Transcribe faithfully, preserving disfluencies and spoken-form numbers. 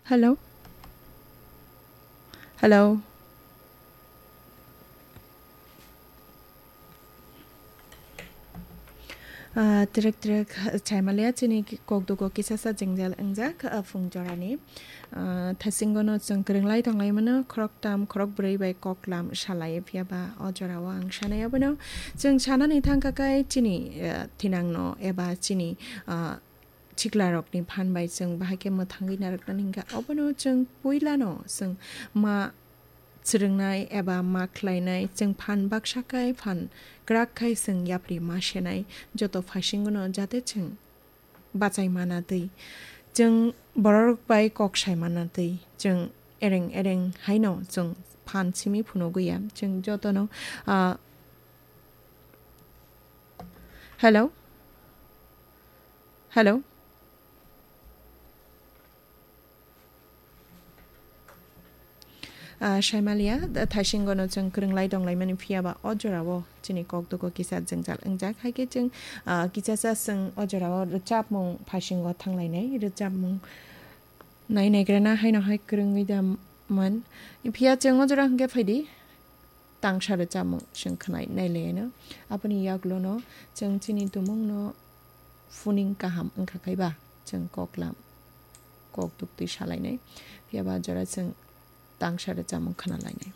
Hello? Hello? Ah, trek trek, ah, chaimalia chini ki-, kokdugo kisasa jengjal wngjak, ah, phung jorani. Ah, thasingono chwng kwrwnglai tonglaimano, khoroktam, khorokbrwi bai koklam salai, phiyaba o jorao ang sanai abono. Chwng sanani thangkha khe chini, ah, thinangno eba chini, ah, chiklarokni phan bai chwng bahai khe mwthangwi narwknani hwnkha. Obono chwng puilano chwng ma chwrwngnai eba ma khlainai, chwng phan baksa khai, phan kwrak khai chwng yapri ma senai, joto phaisingono jate chwng bachai mana twi, chwng bororok bai kok sai mana twi, chwng ereng ereng haino chwng phan simi phunugwi ya. Chwng jotono, ah, hello? Hello? Ah, saimalia, da-, thaisingono chwng kwrwnglai donglaimani phiyaba o jorao chini kokdugo kisa jwngjal wngjak. Hai khe chwng, ah, kichasa chwng o jorao rwchapmung phaisingo thanglainai, rwchapmung nai naigrana haino hai kwrwngwi da man. Phiya chwng o jora hwnkhe phaidi. Tangsa rwchapmung chwng khwnai nailaino. Aboni yagulono chwng chini tumungno phuning kaham wngkha kaiba chwng koklam kok duktwi salainai. Phiyaba jora chwng tangsa rwchapmung khwnalainai.